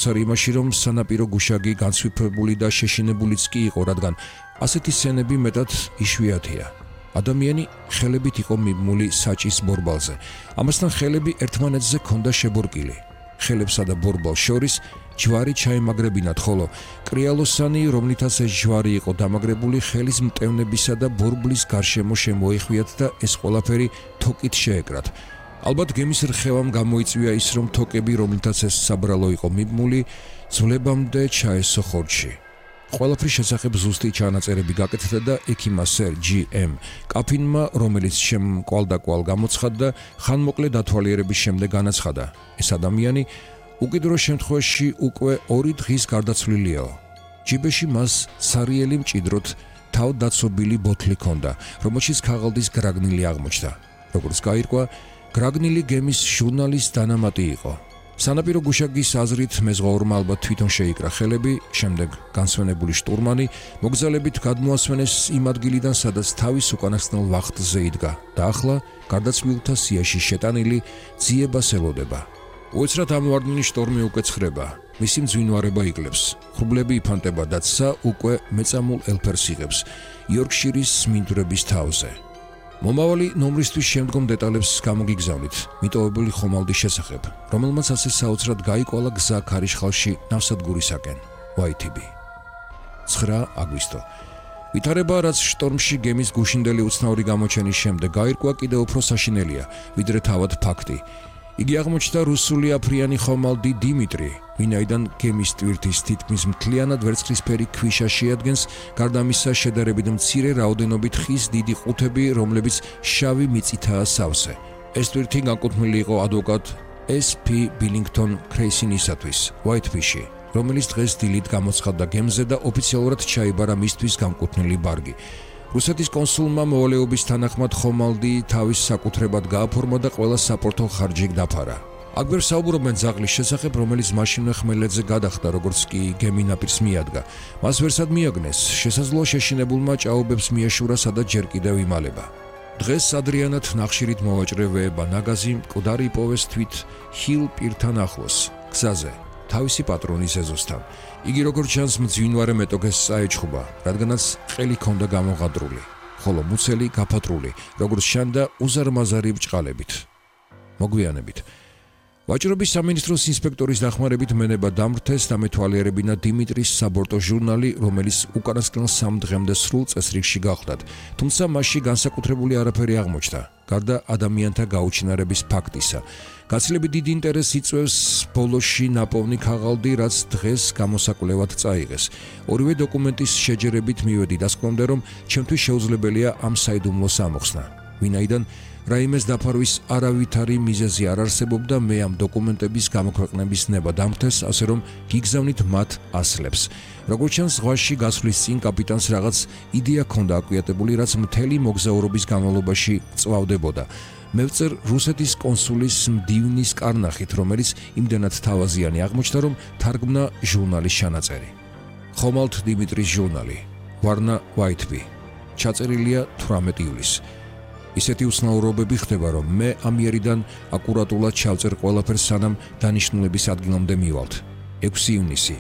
სარი იმაში, რომ სანაპირო გუშაგი განსვიფრებული და შეშინებულიც კი იყო, რადგან ასეთი სცენები მეტად იშვიათია. ადამიანი ხელებით იყო მიბმული საჭის ბორბალზე. ამასთან ხელები ერთმანეთზე ჰქონდა შებორკილი. ხელებსა და ბორბალს შორის ჯვარი ჩაემაგრებინათ, ხოლო კრიალოსანი, რომლითაც ეს ჯვარი იყო დამაგრებული, ხელის მტევნებისა და ბორბლის გარშემო შემოეხვიათ და ეს ყველაფერი თოკით შეეკრათ. ალბათ გემის რხევამ გამოიწვია ის, რომ თოკები, რომლითაც ეს საბრალო იყო მიბმული, ძვლებამდე ჩაესო ხორცში. ყველაფრის შესახებ ზუსტი ჩანაწერები გაკეთდა და ექიმმა სერ G.M. კაფინმა, რომელიც შემკვალ-დაკვალ გამოცხადდა და ხანმოკლე დათვალიერების შემდეგ განაცხადა, ეს ადამიანი უკიდურეს შემთხვევაში უკვე 2 დღის გარდაცვლილიაო. ჯიბეში მას სარიელი მჭიდროდ თავდაცობილი ბოთლი ჰქონდა, რომელშიც ქაღალდის გრაგნილი აღმოჩნდა. როგორც გაირკვა, გრაგნილი გემის ჟურნალის დანამატი იყო. სანაპირო გუშაგის აზრით მეზღვაურმა ალბათ თვითონ შეიკრა ხელები, შემდეგ განსვენებული შტურმანი მოგზალებით გადმოასვენეს იმ ადგილიდან, სადაც თავის უკანასკნელ ვახტზე იდგა და ახლა გარდაცვლილთა სიაში შეტანილი ძიებას ელოდება. უეცრად ამოვარდნილი შტორმი უკვე ცხრება, მისი მძვინვარება იკლებს, ხრუბლები იფანტება და ცა უკვე მეწამულ ელფერს იღებს იორკშირის მინდვრების თავზე. მომავალი ნომრისთვის შემდგომ დეტალებს გამოგიგზავნით მიტოვებული ხომალდის შესახებ, რომელმაც ასე საოცრად გაიკვალა გზა ქარიშხალში ნავსადგურისაკენ. YTB 9 აგვისტო. ვითარება, რაც შტორმში გემის გუშინდელი უცნაური გამოჩენის შემდეგ გაირკვა, კიდევ უფრო საშინელია, ვიდრე თავად ფაქტი. იგი აღმოჩნდა რუსული აფრიანი ხომალდი დიმიტრი, ვინაიდან გემის ტვირთის თითქმის მთლიანად ვერცხლისფერი ქვიშა შეადგენს, გარდა ამისა შედარებით მცირე რაოდენობით ხის დიდი ყუთები, რომლებიც შავი მიწითაა სავსე. ეს ტვირთი განკუთვნილი იყო ადვოკატ S.P. ბილინგტონ კრეისინისათვის, Whitefish-ში, რომელიც დღეს დილით გამოცხადდა გემზე და ოფიციალურად ჩაიბარა მისთვის განკუთვნილი ბარგი. რუსეთის კონსულმა მოვალეობის თანახმად ხომალდი თავის საკუთრებად გააფორმა და ყველა საპორტო ხარჯი დაფარა. აგვერ საუბრობენ ძაღლის შესახებ, რომელიც მაშინვე ხმელეთზე გადახდა, როგორც კი გემი ნაპირს მიადგა. მას ვერსად მიაგნეს, შესაძლოა შეშინებულმა ჭაობებს მიეშურა, სადაც ჯერ კიდევ იმალება. დღეს ადრიანად ნახშირით მოვაჭრევება ნაგაზი მკვდარი იპოვეს თვით ჰილ პირთან ახლოს, გზაზე, თავისი პატრონის ეზოსთან. იგი როგორც ჩანს მძვინვარე მეტოქეს წაეჩხუბა, რადგანაც ყელი ჰქონდა გამოღადრული, ხოლო მუცელი გაფატრული, როგორც ჩანდა უზარმაზარი ბრჭყალებით. მოგვიანებით ვაჭრობის სამინისტროს ინსპექტორის დახმარებით მენება დამრთეს და მეთვალიერებინა დიმიტრის საბორტო ჟურნალი, რომელიც უკანასკნელ 3 დღემდე სრულ წესრიგში გახლდათ, თუმცა მასში განსაკუთრებული არაფერი აღმოჩნდა, გარდა ადამიანთა გაუჩინარების ფაქტისა. გაცილებით დიდი ინტერესს იწვევს ბოლოში ნაპოვნი ქაღალდი, რაც დღეს გამოსაკვლევად წაიღეს. ორივე დოკუმენტის შეჯერებით მივედი დასკვნამდე, რომ ჩემთვის შეუძლებელია ამ საიდუმლოს ამოხსნა, ვინაიდან რაიმეს დაფარვის არავითარი მიზეზი არ არსებობდა, მე ამ დოკუმენტების გამოქვეყნების ნება დამრთეს, ასე რომ გიგზავნით მათ ასლებს. როგორც ჩანს, ზღვაში გასვლის წინ კაპიტანს რაღაც იდეა ჰქონდა აკვიატებული, რაც მთელი მოგზაურობის განმავლობაში წვავდებოდა. მე ვწერ რუსეთის კონსულის მდივნის კარნახით, რომელიც იმდენად თავაზიანი აღმოჩნდა, რომ თარგმნა ჟურნალის ჩანაწერი. ხომალდ დიმიტრის ჟურნალი, ვარნა YTB, ჩაწერილია 18 ივლისს. ისეთი უცნაურობები ხდება, რომ მე ამიერიდან აკურატულად ჩავწერ ყველაფერს, სანამ დანიშნულების ადგილამდე მივალთ. 6 ივნისი.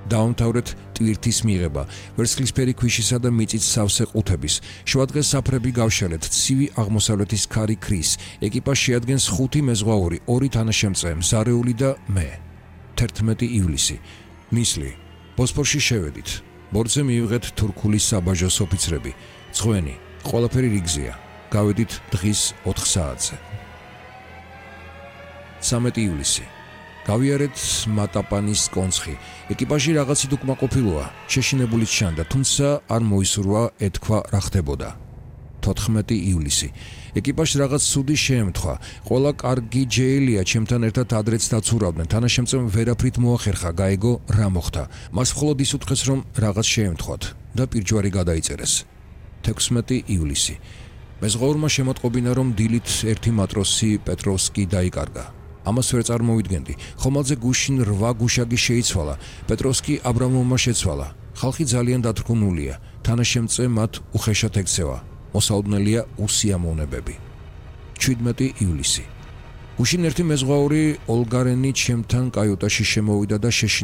დაამთავრეთ ტვირთის მიღება, ვერცხლისფერი ქვიშისა და მიწით სავსე ყუთების, შუადღეს საფრები გავშალეთ, ცივი აღმოსავლეთის ქარი ქრის, ეკიპაჟი შეადგენს 5 მეზღვაური, 2 თანაშემწე, მზარეული და მე. 11 ივლისი. ნისლი. ბოსფორში შევედით. ბორცზე მიიღეთ თურქული საბაჟოს ოფიცრები. წვენი, ყველაფერი რიგზეა. გავედით დღის 4 საათზე. 13 ივლისი. გავიარეთ მატაპანის კონცხი. ეკიპაჟი რაღაცით უკმაყოფილოა, შეშინებულიც ჩანდა, თუმცა არ მოისურვა ეთქვა რა ხდებოდა. 14 ივლისი. ეკიპაჟს რაღაც ცუდი შეემთხვა. ყველა კარგი ჯეელია, ჩემთან ერთად ადრეც დაცურავდნენ. თანაშემწემ ვერაფრით მოახერხა, გაეგო რა მოხდა. მას მხოლოდ ის უთხრეს, რომ რაღაც შეემთხვათ და პირჯვარი გადაიწერეს. 16 ივლისი. მეზღვაურმა შემოტყობინა, რომ დილით ერთი მატროსი პეტროვსკი დაიკარგა. ამას ვერ წარმოვიდგენდი. ხომალდზე გუშინ 8 გუშაგი შეიცვალა. პეტროვსკი აბრამოვმა შეცვალა. ხალხი ძალიან დათრგუნულია. თანაშემწე მათ უხეშად ექცევა. მოსაუდნელია უსიამოვნებები. 17 ივლისი. გუშინ ერთი მეზღვაური ოლგარენი ჩემთან კაიუტაში შემოვიდა და